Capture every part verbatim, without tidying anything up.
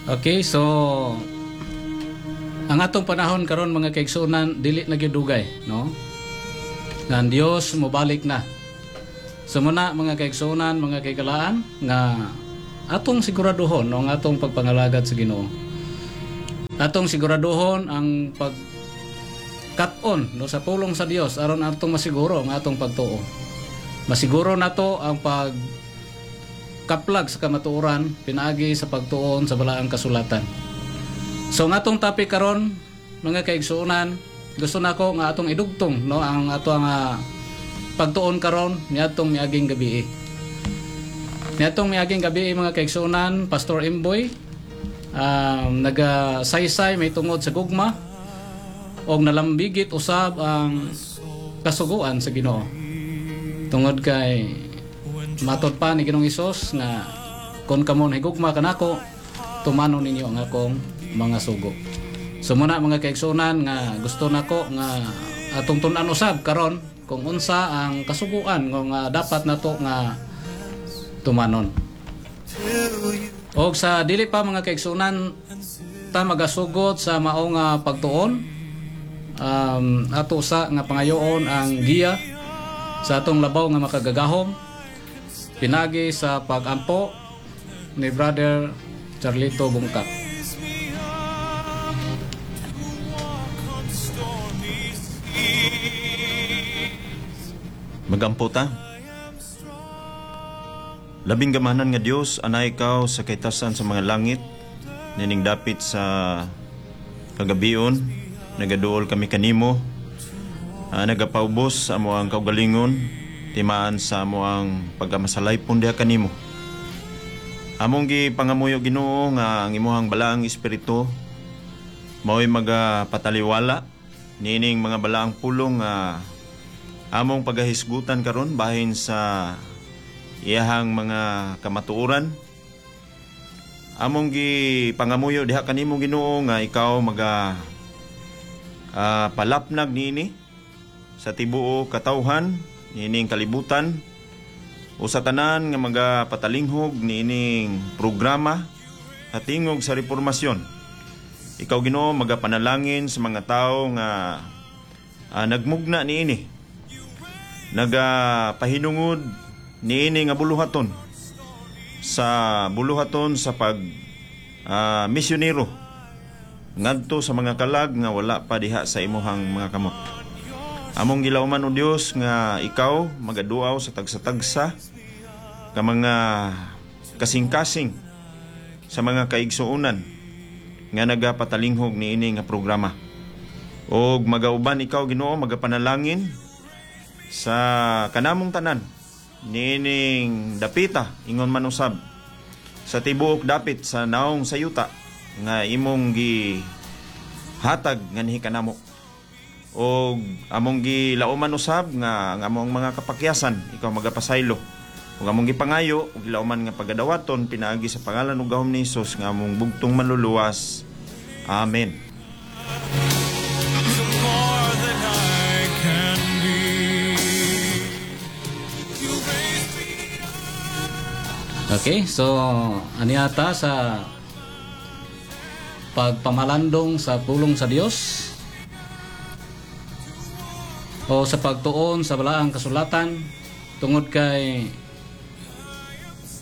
Okay, so ang atong panahon karon, mga kaigsuonan, dili na gyud dugay, no? Nga ang Dios mobalik na. So muna, mga kaigsuonan, mga kahigalaan, nga atong siguraduhon, no, ang atong pagpangalagad sa Ginoo. Atong siguraduhon ang pag kat-on, no, sa pulong sa Dios aron atong masiguro ang atong pagtuo. Masiguro nato ang pag kaplag sa kamatuoran pinaagi sa pagtuon sa balaang kasulatan. So ang atong topic karon, mga kaigsuonan, gusto nako nga atong idugtong, no, ang ato nga pagtuon karon niadtong miaging gabi. Niadtong miaging gabi, mga kaigsuonan, Pastor Imboy um, nagasaysay may tungod sa gugma og nalambigit usab ang kasuguan sa Ginoo. Tungod kay matod pa ni Ginoong Hesus nga kung kamo nahigugma kanako, tumanon ninyo ang akong mga sugo. So muna, mga kaigsuonan, nga gusto nako nga atong tun-an usab karon kung unsa ang kasuguan nga dapat nato nga tumanon. Og sa dili pa, mga kaigsuonan, ta magasugod sa mao nga pagtuon, um, ato sa nga pangayoon ang giya sa atong labaw nga makagagahom pinagi sa pagampo ni Brother Charlito Bungkak. Raise me up to walk on stormy seas. Magampo ta. Labing gamanan nga Dios, anaa ikaw sa kahitasan sa mga langit, nining dapit sa kagabion, nagaduol kami kanimo, uh, nagapaubos sa amoang kaugalingon, timaan sa amoang pagkamasalaypon diha kanimo. Among gi pangamuyo, Ginoo, nga ang imuhang balaang espiritu mao'y magapataliwala niining mga balaang pulong nga among pagahisgutan karon bahin sa iyahang mga kamatuoran. Among gi pangamuyo diha kanimo, Ginoo, nga ikaw maga ah, palapnag niini sa tibuok katawhan niining kalibutan o sa tanan nga magapatalinghog niining programa at Tingog sa Reformasyon. Ikaw, Ginoo, magapanalangin sa mga tao nga ah, nagmugna niini. Nagapahinungod niini nga buluhaton sa buluhaton sa pag ah, misyonero ngadto sa mga kalag nga wala pa diha sa imuhang mga kamot. Among gilauman, o Dios, nga ikaw magaduaw sa tagsa-tagsa ka mga kasing-kasing sa mga kaigsuonan nga nagapatalinghog niini nga programa. Og magauban ikaw, Ginoo, magapanalangin sa kanamong tanan niining dapita, ingon man usab sa tibuok dapit sa naong sa yuta nga imong gi hatag nganhi kanamo. Og among gilauman usab nga ang among mga kapakyasan, ikaw magapasaylo. Ug among gipangayo ug gilauman nga pagadawaton pinaagi sa pangalan ug gahom ni Hesus nga among bugtong manluluwas. Amen. To more than I can be. You raise me Okay, so aniata sa pagpamalandong sa pulong sa Dios o sa pagtuon sa balaang kasulatan, tungod kay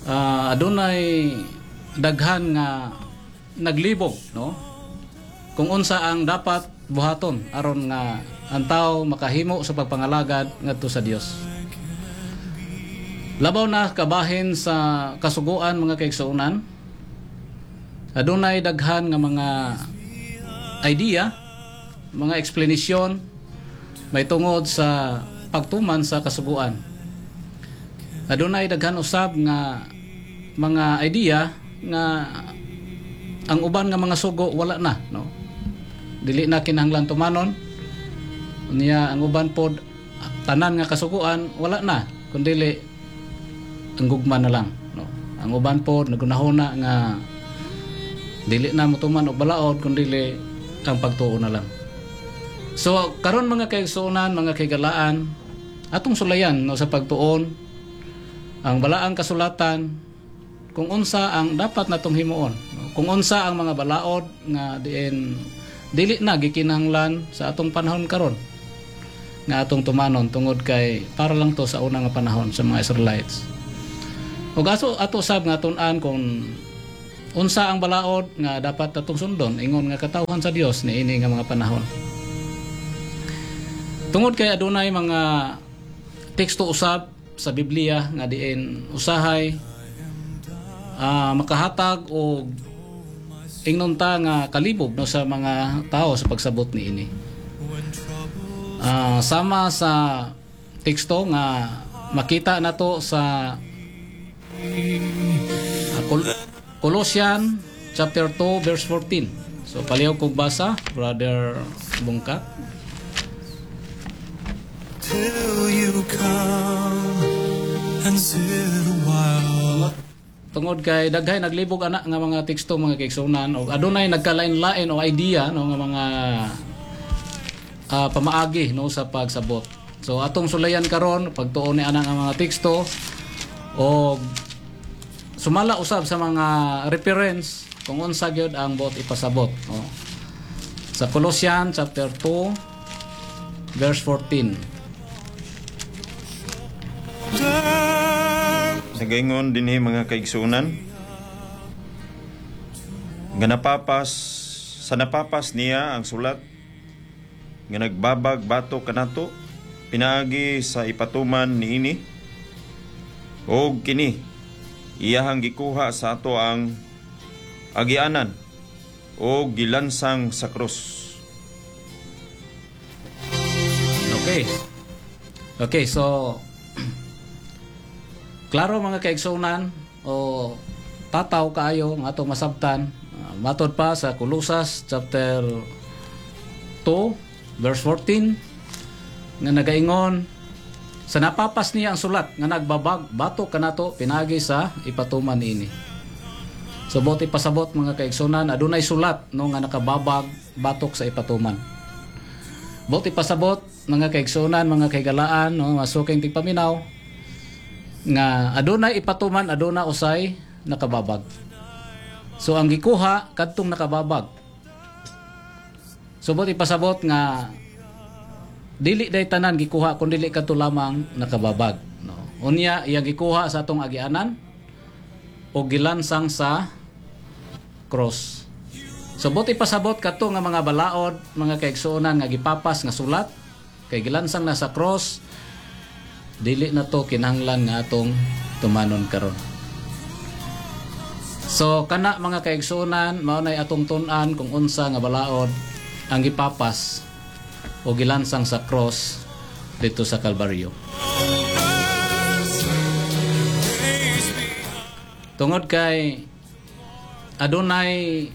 ah, adunay daghan nga naglibog, no, kung unsa ang dapat buhaton aron nga ang tao makahimo sa pagpangalagad ngadto sa Dios. Labaw na kabahin sa kasuguan, mga kaigsuonan, adunay daghan nga mga idea, mga eksplanasyon may tungod sa pagtuman sa kasuguan. Adunay daghan usab nga mga idea nga ang uban nga mga sugo wala na, no, dili na kinahanglan tumanon niya. Ang uban pod, tanan nga kasuguan wala na, kundili ang gugma na lang, no. Ang uban pod nagunahona nga dili na motuman og balaod, kundili ang pagtuo na lang. So karon, mga kaigsuonan, mga kahigalaan, atong sulayan, no, sa pagtuon ang balaang kasulatan kung unsa ang dapat natong himuon, no? Kung unsa ang mga balaod nga diin dili na gikinahanglan sa atong panahon karon nga atong tumanon, tungod kay para lang to sa una nga panahon sa mga Israelites. Ug ato ato sab nga tun-an kung unsa ang balaod nga dapat atong sundon ingon nga katawhan sa Dios niini nga mga panahon. Tungod kay adunay mga teksto usab sa Biblia nga diin usahay ah, makahatag og ingnon ta nga kalibog, no, sa mga tao sa pagsabot niini. Ah, sama sa teksto nga makita nato sa ah, Col- Colossian chapter two verse fourteen. So palihog kog basa, Brother Bungkat. Till you come and sit a while. Tungod kay daghay naglibog ana nga mga teksto, mga kaigsunan, og adunay nagkalain-lain o idea, no, nga mga ah, pamaagi, no, sa pagsabot. So atong sulayan karon pagtuon ni ana nga mga teksto og sumala usab sa mga reference kung unsa gyud ang buot ipasabot, no. Sa Colossian chapter two verse fourteen. Sa gaingon dinhi, mga kaigsunan, nga napapas sa napapas niya ang sulat nga nagbabag batok kanato pinaagi sa ipatuman niini, og kini iyahang gikuha sa ato ang agianan og gilansang sa krus. Okay. Okay, so klaro, mga kaigsunan, o tataw kaayo nga atong masabtan. Uh, matod pa sa Colosas chapter two verse fourteen nga nagaingon, sa napapas niya ang sulat nga nagbabag batok kanato pinaagi sa ipatuman ini. So buot ipasabot, mga kaigsunan, adunay sulat, no, nga nakababag batok sa ipatuman. Buot ipasabot, mga kaigsunan, mga kahigalaan, no, masuking tigpaminaw, nga adunay ipatuman, aduna usay nakababag. So ang gikuha kadtong nakababag. So buot ipasabot nga dili day tanan gikuha kun dili kadto lamang nakababag, no. Unya iyang gikuha sa atong agianan o gilansang sa cross. So buot ipasabot kadto nga mga balaod, mga kaigsuonan, nga gipapas nga sulat kay gilansang na sa cross, dili na to kinahanglan nga atong tumanon karon. So kana, mga kaigsuonan, mao nay atong tun-an kung unsa nga balaod ang gipapas o gilansang sa cross dito sa Kalbaryo. Raise me Tungod kay adunay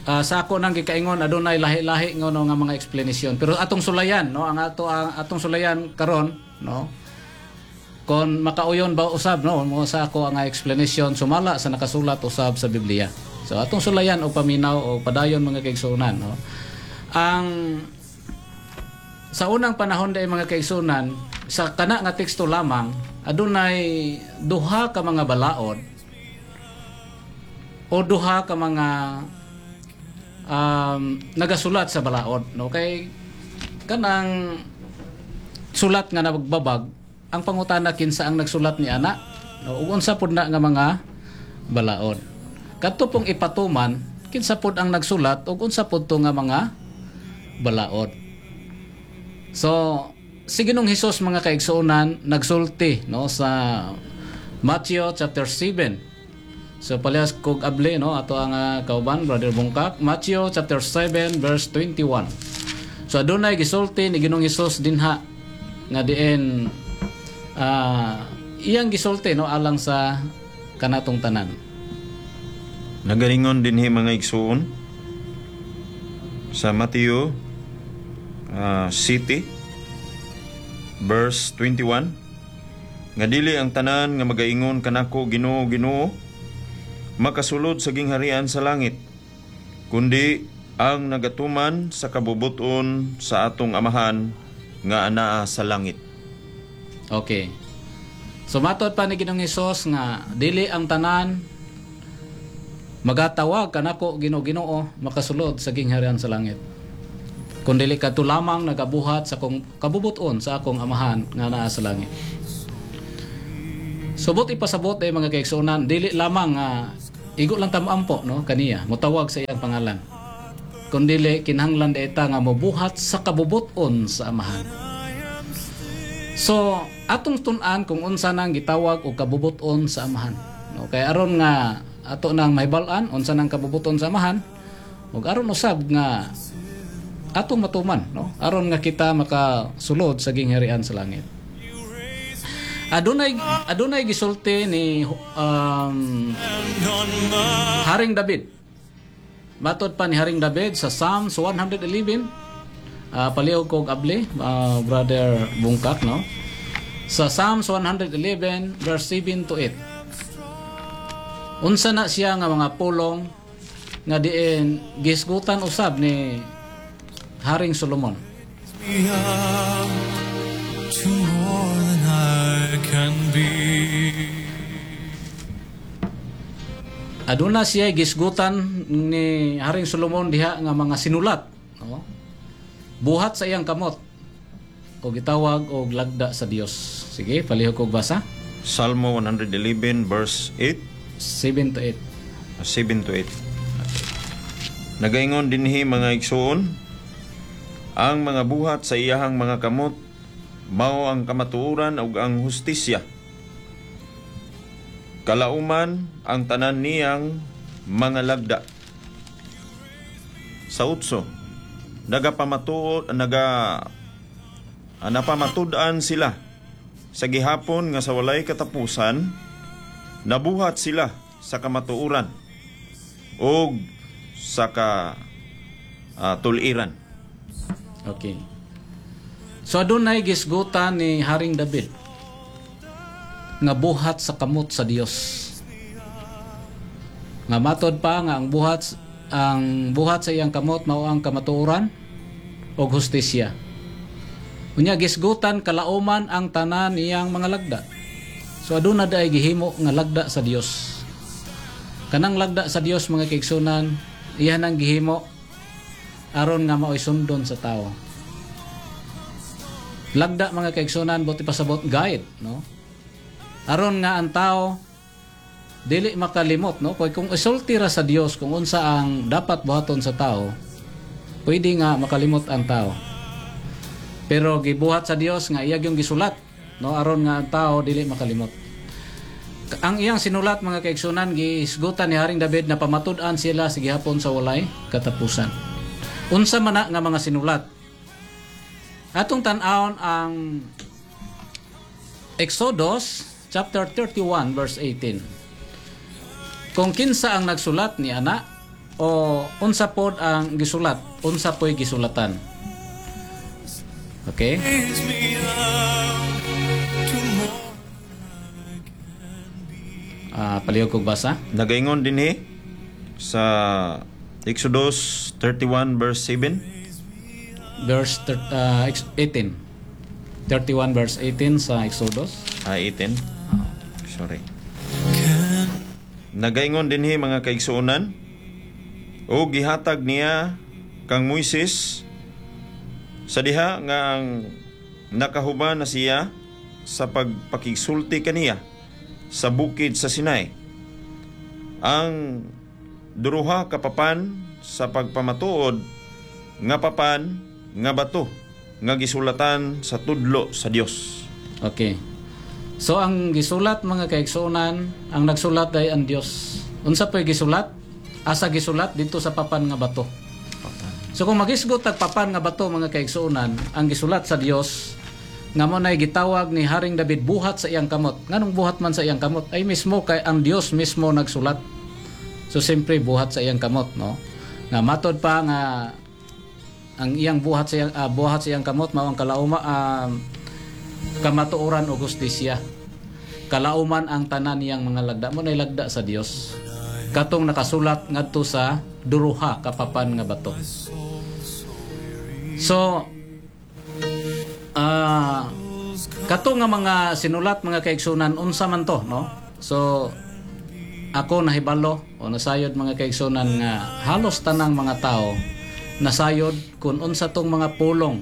ah, sa ako nang gikaingon, adunay lahi-lahi nga, no, nga mga explanation, pero atong sulayan, no, ang ato ang atong sulayan karon, no, kon makauyon ba usab, no, mo sa ako ang explanation sumala sa nakasulat usab sa Biblia. So atong sulayan og paminaw o padayon, mga kaigsuonan, no. Ang sa unang panahon dai, mga kaigsuonan, sa kana nga teksto lamang, adunay duha ka mga balaod o duha ka mga um, nagasulat sa balaod, no, kay kanang sulat nga nagbabag, ang pangutana, kinsa ang nagsulat ni ana, no, ug unsa pud na nga mga balaod. Kadto pong ipatuman, kinsa pud ang nagsulat ug unsa pud to nga mga balaod? So si Ginoong Hesus, mga kaigsuonan, nagsulti, no, sa Matthew chapter seven. So palihas kog abli, no, ato ang uh, kauban, Brother Bungkak, Matthew chapter seven verse twenty-one. So adunay gisulti ni Ginoong Hesus dinha nga diin ah, iyang gisulti, no, alang sa kanatong tanan. Nagaringon dinhi, mga igsuon, sa Matthew ah, City verse twenty-one nga dili ang tanan nga magaingon kanako, "Ginoo, Ginoo," makasulod sa gingharian sa langit, kundi ang nagatuman sa kabubuton sa atong Amahan nga anaa sa langit. Okay. So matod pa ni Ginoong Hesus nga dili ang tanan Magatawag kanako, Ginoo, Ginoo, makasulod sa gingharian sa langit, kundili kadto lamang nagabuhat sa akong kabubuton sa akong Amahan nga naa sa langit. Subot ipasabot eh, mga kaigsuonan, dili lamang nga igo lang ta moampo, no, kaniya, motawag sa iyang pangalan. Kundili kinahanglan ta nga mobuhat sa kabubuton sa Amahan. So, atong tun-an kung unsa nang gitawag og kabubuton sa Amahan. No, kay aron nga ato nang mahibal-an unsa nang kabubuton sa Amahan ug aron usab nga atong matuman, no, aron nga kita makasulod sa gingharian sa langit. Adunay adunay gisulti ni um, Haring David. Matod pa ni Haring David sa Psalms one hundred eleven, uh, palihog kog abli, uh, Brother Bungkak, no, sa Psalms one hundred eleven verse seven to eight. Unsa na siya nga mga pulong nga diin gisgutan usab ni Haring Solomon? Me up to more than I can be. Aduna siya gisgutan ni Haring Solomon diha nga mga sinulat, no? Buhat sa iyang kamot o gitawag og lagda sa Dios. Sige, palihog kog basa. Salmo one hundred eleven verse eight. seven to eight. seven to eight. Nagaingon dinhi, mga igsuon, ang mga buhat sa iyahang mga kamot mao ang kamatuoran ug ang hustisya. Kalauman ang tanan niyang mga lagda. Sa utso, nagapamatuod naga ah, napamatud-an sila sa gihapon nga sa walay katapusan. Nabuhat sila sa kamatuoran ug sa ka ah, tuliran. Okay. So adunay gisgutan ni Haring David nga buhat sa kamot sa Dios. Nga matod pa nga ang buhat ang buhat sa iyang kamot mao ang kamatuoran ug hustisya. Unya gisgutan kalauman ang tanan niyang mga lagda. So aduna diay gihimo nga lagda sa Dios. Kanang lagda sa Dios, mga kaigsunan, iyan ang gihimo aron nga maoy sundon sa tao. Lagda, mga kaigsunan, buot ipasabot, guide, no? Aron nga ang tao dili makalimot, no? Kay kung isulti ra sa Dios kung unsa ang dapat buhaton sa tao, pwede nga makalimot ang tao. Pero gibuhat sa Dios nga iya yung gisulat, no, aron nga ang tao dili makalimot. Ang iyang sinulat, mga kaigsunan, gihisgutan ni Haring David na pamatud-an sila sa gihapon sa walay katapusan. Unsa man na nga mga sinulat? Atong tan-awon ang Exodus chapter thirty-one verse eighteen. Kung kinsa ang nagsulat ni ana o unsa pod ang gisulat, unsa po'y gisulatan. Okay? Raise me up to more. Ah, palihog kog basa. Nagaingon dinhi sa Exodus thirty-one verse seven. Verse thir- ah, ex- eighteen. thirty-one verse eighteen sa Exodus. Ah, eighteen. Sorry. Nagaingon dinhi, mga kaigsuonan, o gihatag niya kang Moises sa diha nga ang nakahuman na siya sa pagpakigsulti kaniya sa bukid sa Sinai, ang duruha ka papan sa pagpamatuod, nga papan nga bato nga gisulatan sa tudlo sa Dios. Okay. So ang gisulat, mga kaigsuonan, ang nagsulat ay ang Dios. Unsa po'y gisulat? Asa gisulat? Dito sa papan nga bato. So kung magisgot tag papan nga bato, mga kaigsuonan, ang gisulat sa Dios nga mo nay gitawag ni Haring David buhat sa iyang kamot. Nganong buhat man sa iyang kamot? Ay mismo kay ang Dios mismo nagsulat. So siyempre buhat sa iyang kamot, no? Nga matod pa nga ang iyang buhat sa iyang ah, buhat sa iyang kamot mao ang kalauma um, kamatuoran o hustisya. Kalauman ang tanan niyang mga lagda, mo nay lagda sa Dios. Katong nakasulat ngadto sa duruha ka papan nga bato. So ah kato nga mga sinulat, mga kaigsunan, unsa man to, no? So Ako nahibalo o nasayod, mga kaigsunan, nga halos tanang mga tao nasayod kung unsa tong mga pulong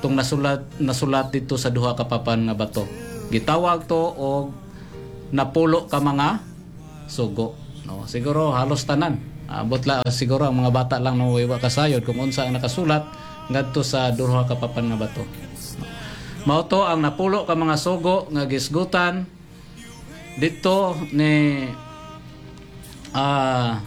tong nasulat nasulat dito sa duha ka papan nga bato. Gitawag to og napulo ka mga sugo. No, siguro halos tanan. Abot la siguro ang mga bata lang no wa kasayod kung unsa ang nakasulat ngadto sa duha ka papan nga bato. Mao to ang napulo ka mga sugo nga gisgutan dito ni ah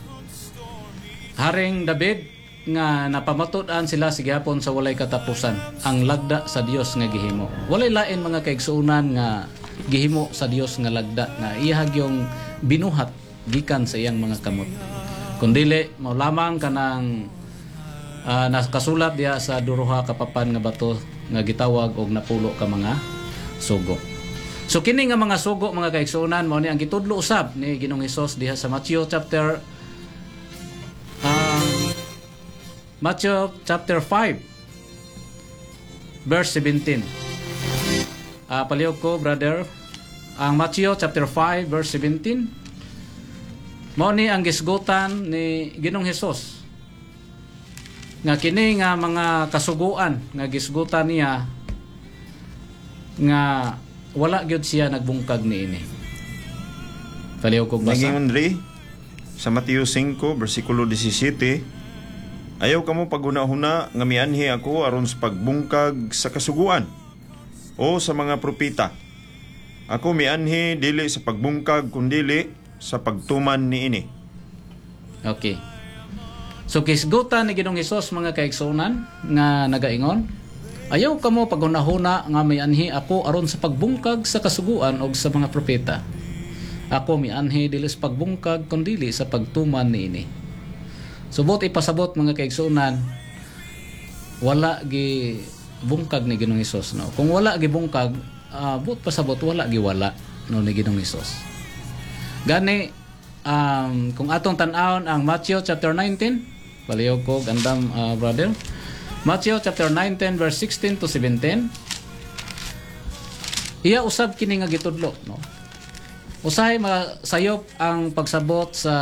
Haring David nga napamatud-an sila sa gihapon sa walay katapusan, ang lagda sa Dios nga gihimo. Walay lain, mga kaigsuonan, nga gihimo sa Dios nga lagda nga iyahag yung binuhat gikan sa iyang mga kamot. Kundili mao lamang kanang uh, nakasulat diha sa duha ka papan nga bato nga gitawag og napulo ka mga sugo. So kini nga mga sugo, mga kaigsuonan, mao ni ang gitudlo usab ni Ginoong Hesus diha sa Matthew chapter um, Matthew chapter five verse seventeen. Ah, palihog ko, brother. Ang Matthew chapter five verse seventeen. Mao ni ang gisgutan ni Ginoong Hesus. Nga kini nga mga kasuguan nga gisgutan niya nga wala gyud siya nagbungkag niini. Palihog kog basa. Naging diri sa Mateo singko versikulo disisite, "Ayaw kamo paghuna-huna nga mianhi ako aron sa pagbungkag sa kasuguan o sa mga propeta. Ako mianhi dili sa pagbungkag kundili sa pagtuman niini." Okay. So kisgutan ni Ginoong Hesus, mga kaigsuonan, nga nagaingon, "Ayaw kamo paghunahuna nga mianhi ako aron sa pagbungkag sa kasuguan og sa mga propeta. Ako mianhi dili sa pagbungkag kundili sa pagtuman niini." Subot ipasabot, mga kaigsuonan, wala gi bungkag ni Ginoong Hesus, no. Kung wala gi bungkag, uh, buot pasabot wala gi wala, no, ni Ginoong Hesus. Gani um, kung atong tan-awon ang Matthew chapter nineteen, palihog ko gandam, uh, brother. Matthew chapter nineteen verse sixteen to seventeen. Iya usab kini nga gitudlo, no. Usahay masayop ang pagsabot sa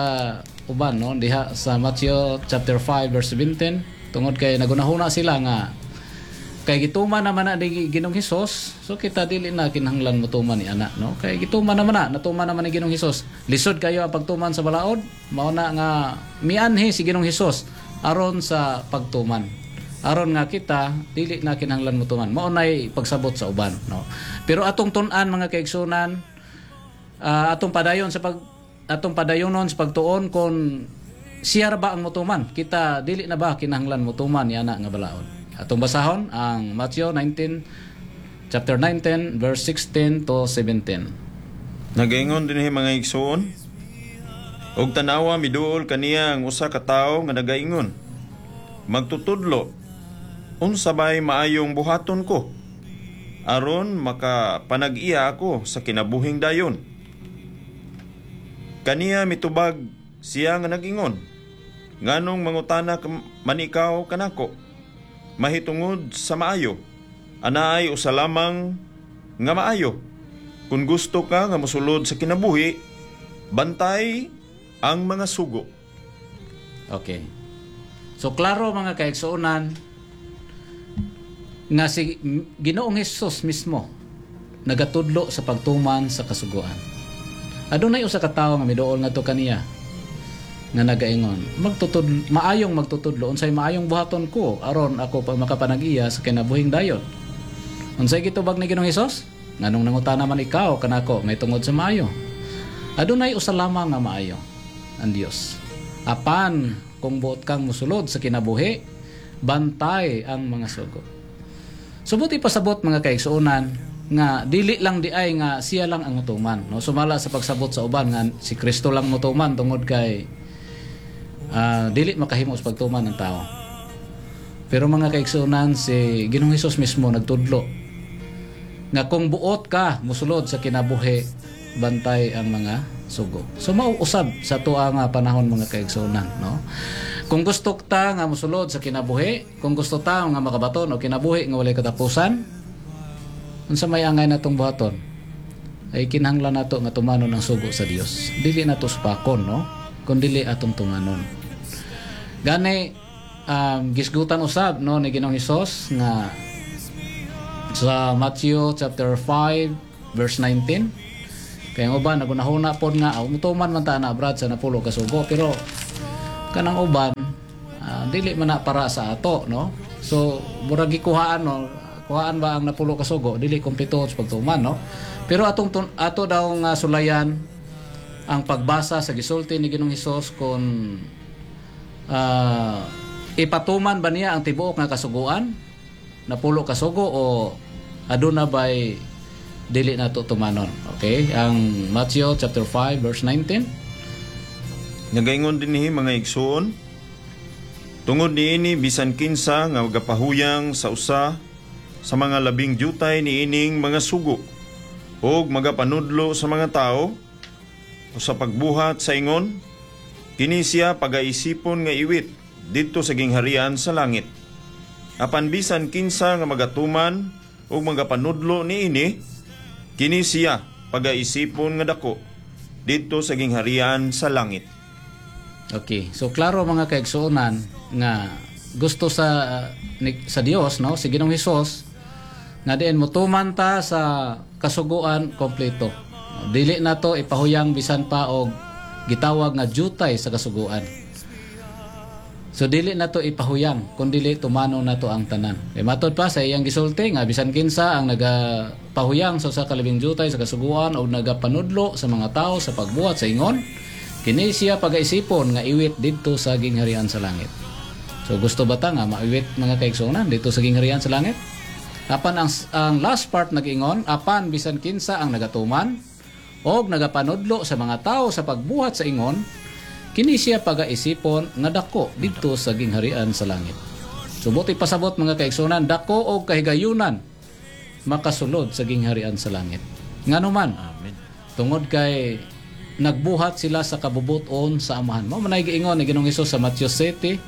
uban, no, diha sa Matthew chapter five verse seventeen, tungod kay nagunahuna sila nga kay gituman naman na ni Ginoong Hesus, so kita dili na kinahanglan motuman ni ana, no, kay gituman naman na natuman naman ni Ginoong Hesus. Lisod kayo ang pagtuman sa balaod. Mao na nga mianhi si Ginoong Hesus aron sa pagtuman, aron nga kita dili na kinahanglan motuman. Mao nay pagsabot sa uban, no. Pero atong tun-an, mga kaigsunan, uh, atong padayon sa pag atong padayonon sa pagtuon kon siya ra ba ang motuman, kita dili na ba kinahanglan motuman yana nga balaod. Atong basahon ang Matthew nineteen chapter nineteen verse sixteen to seventeen. Nagaingon dinhi, mga igsoon, "Og tanawa, miduol kaniya ang usa ka tawo nga nagaingon, 'Magtutudlo, unsa bay maayong buhaton ko aron makapanag-iya ako sa kinabuhing dayon?' Kaniya mitubag siya nga nagingon, 'Nganong mangutana man ikaw kanako mahitungod sa maayo? Anaay usa lamang nga maayo. Kung gusto ka nga mosulod sa kinabuhi, bantay ang mga sugo.'" Okay. So klaro, mga kaigsuonan, nga si Ginoong Hesus mismo nagatudlo sa pagtuman sa kasuguan. Adunay usa ka tawo nga miduol ngadto kaniya nga nagaingon, "Magtutud maayong magtutudlo, unsay maayong buhaton ko aron ako pa makapanag-iya sa kinabuhing dayon?" Unsay gitubag ni Ginoong Hesus? "Nganong nangutana man ikaw kanako may tungod sa maayo? Adunay usa lamang nga maayo, ang Dios. Apan kung buot kang musulod sa kinabuhi, bantay ang mga sugo." Subot ipasabot, mga kaigsuonan, nga dili lang di ay nga siya lang ang mutuman, no, sumala sa pagsabot sa uban nga si Kristo lang mutuman tungod kay uh, dili makahimo sa pagtuman ng tao. Pero mga kaigsuonan, si Ginoong Hesus mismo nagtudlo nga kung buot ka musulod sa kinabuhi, bantay ang mga sugo. So mauusab sa tuwa nga panahon, mga kaigsuonan, no. Kung gusto ta nga musulod sa kinabuhi, kung gusto ta nga makabaton o kinabuhi nga walay katapusan, unsa may angay natong buhaton? Ay kinahanglan nato nga tumanon ang sugo sa Dios. Dili nato supakon, no, kun dili atong tumanon. Gani um, gisgutan usab, no, ni Ginoong Hesus nga sa Matthew chapter five verse nineteen. Kay ang uban nagunahuna pod nga, "Oh, mutuman man ta na, Brad, sa napulo ka sugo," pero kanang uban, ah, dili man na para sa ato, no? So murag gikuhaan, no, kuhaan ba ang napulo ka sugo, dili kumpleto sa pagtuman, no? Pero atong tun- ato daw nga sulayan ang pagbasa sa gisulti ni Ginoong Hesus kung ah, ipatuman ba niya ang tibuok nga kasuguan, napulo ka sugo, o aduna bay dili nato tumanon. Okay, ang Matthew chapter five verse nineteen. Nagaingon dinhi, mga igsuon, "Tungod niini, bisan kinsa nga magapahuyang sa usa sa mga labing jutay niining mga sugo ug magapanudlo sa mga tao o sa pagbuhat sa ingon, kini siya pagaisipon nga iwit didto sa gingharian sa langit. Apan bisan kinsa nga magatuman ug magapanudlo niini, kini siya pagaisipon nga dako didto sa gingharian sa langit." Okay. So klaro, mga kaigsuonan, nga gusto sa ni, sa Dios, no, si Ginoong Hesus, nga diin motuman ta sa kasuguan kompleto. Dili na to ipahuyang bisan pa og gitawag nga jutay sa kasuguan. So dili na to ipahuyang kun dili tumano na to ang tanan. Kay matod pa sa iyang gisulti nga bisan kinsa ang nagapahuyang sa usa ka labing jutay sa kasuguan o nagapanudlo sa mga tao sa pagbuhat sa ingon, kini siya pagaisipon nga iwit didto sa gingharian sa langit. So gusto ba ta nga maiwit, mga kaigsuonan, dito sa gingharian sa langit? Apan ang, ang last part nag-ingon, "Apan bisan kinsa ang nagatuman og nagapanudlo sa mga tao sa pagbuhat sa ingon, kini siya pagaisipon nga dako didto sa gingharian sa langit." So buot ipasabot, mga kaigsuonan, dako og kahigayunan makasulod sa gingharian sa langit. Ngano man? Amen. Tungod kay nagbuhat sila sa kabubuton sa Amahan. Mao man ay giingon ni Ginoong Hesus sa Matthew seven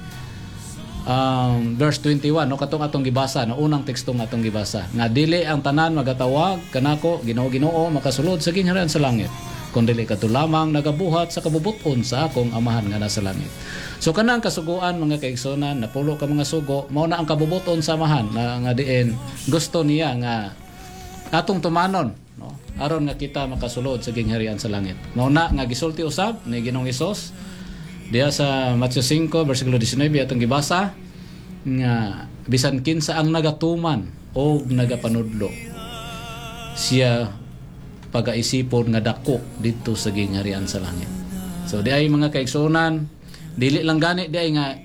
um, verse twenty-one, no, katong atong gibasa, no, unang teksto nga atong gibasa, nga dili ang tanan magatawag kanako, "Ginoo, Ginoo," makasulod sa gingharian sa langit, kundi kadto lamang nagabuhat sa kabubuton sa akong Amahan nga nasa langit. So kanang kasuguan, mga kaigsuonan, napulo ka mga sugo, mao na ang kabubuton sa Amahan na nga diin gusto niya nga atong tumanon, no, aron nga kita makasulod sa gingharian sa langit. Mao na nga gisulti usab ni Ginoong Hesus diha sa Matthew five versikulo nineteen atong gibasa nga bisan kinsa ang nagatuman o nagapanudlo, siya pagaisipon nga dako didto sa gingharian sa langit. So di ay, mga kaigsuonan, dili lang gani di ay nga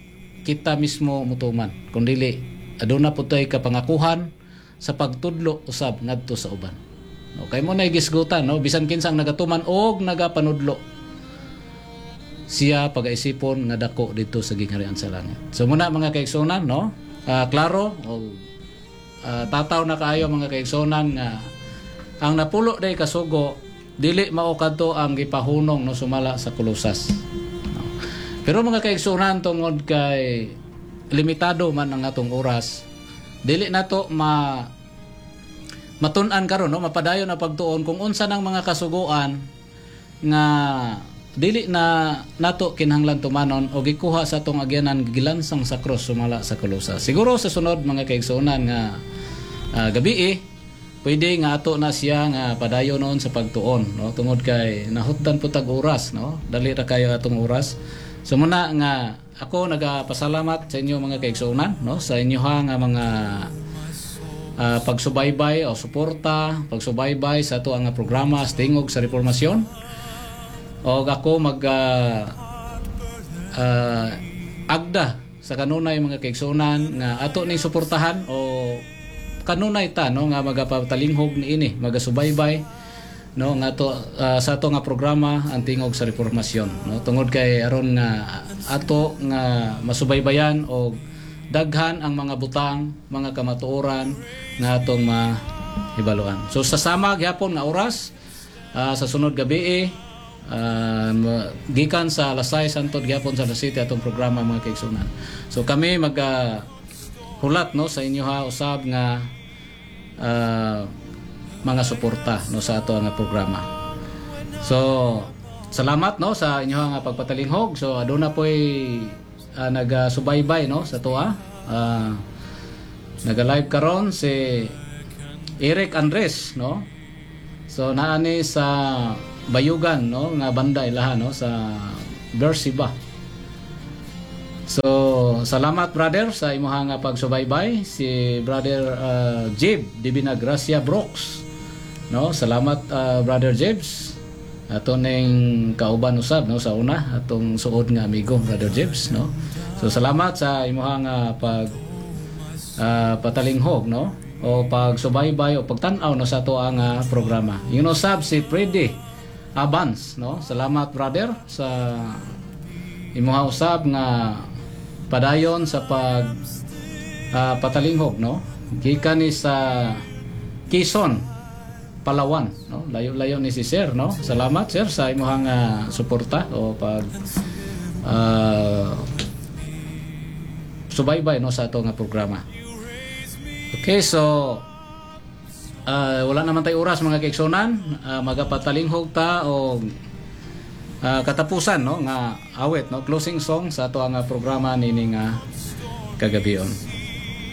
kita mismo mutuman, kun dili aduna pud tay kapangakuhan sa pagtudlo usab ngadto sa uban. Okay mo na gisgutan, no, bisan kinsa ang nagatuman og nagapanudlo, siya pagaisipon nga dako didto sa gingharian sa langit. So muna, mga kaigsuonan, no, ah, klaro o ah, tataw na kaayo, mga kaigsuonan, nga ang napulo day kasugo dili mao kadto ang gipahunong, no, sumala sa Kolosas. No. Pero mga kaigsuonan, tungod kay limitado man ang atong oras, dili nato ma matun-an karon, no, mapadayon na pagtuon kung unsa nang mga kasuguan nga dili na nato kinahanglan tumanon o gikuha sa atong agyanan gilansang sa krus sumala sa Kolosas. Siguro sa sunod, mga kaigsuonan, nga ah, gabi eh, pwede nga ato na siya nga padayon noon sa pagtuon, no, tungod kay nahutdan po tag oras, no, dali ra kayo atong oras. So muna nga ako nagapasalamat sa inyo, mga kaigsuonan, no, sa inyo ha nga mga ah, pagsubaybay o suporta, pagsubaybay sa ato ang programa sa Tingog sa Reformasyon. Og ako mag ah, ah, agda sa kanunay, mga kaigsuonan, nga ato ning suportahan o kanunay ta, no, nga magapatalinghog niini, magasubaybay, no, nga to ah, sa ato nga programa ang Tingog sa Reformasyon, no, tungod kay aron nga ato nga masubaybayan og daghan ang mga butang, mga kamatuoran nga atong mahibaluan. So sa sama gyapon nga oras, ah, sa sunod gabi, uh, gikan sa alas sais hantod gyapon sa alas siyete atong programa, mga kaigsuonan. So kami mag ah, hulat, no, sa inyo ha usab nga ah, mga suporta, no, sa ato nga programa. So salamat, no, sa inyong nga pagpatalinghog. So aduna po'y uh, nagasubaybay, no, sa atoa. Uh, naga-live karon si Eric Andres, no. So naa ni sa Bayugan, no, nga banda ilaha, no, sa Beersheba. So salamat, brother, sa imuha nga pagsubaybay. Si Brother uh, Jib Divina Gracia Brooks, no. Salamat, uh, Brother Jibs. Ato ning kauban usab, no, sa una atong suod nga amigo, Brother Jibs, no. So salamat sa imuha nga pag uh, patalinghog, no, o pagsubaybay o pagtan-aw, no, sa ato ang uh, programa. Yun usab si Freddy Abans, no. Salamat, brother, sa imuha usab nga padayon sa pag uh, patalinghog, no. Gikan ni sa Quezon, Palawan, no. Layo-layo ni si sir, no. Salamat, sir, sa imuhang uh, suporta o pag uh, subaybay, no, sa ato nga programa. Okay, so uh, wala naman tayo oras, mga kaigsunan, uh, magapatalinghog ta o uh, katapusan, no, nga awit, no, closing song sa ato ang uh, programa nining uh, kagabion.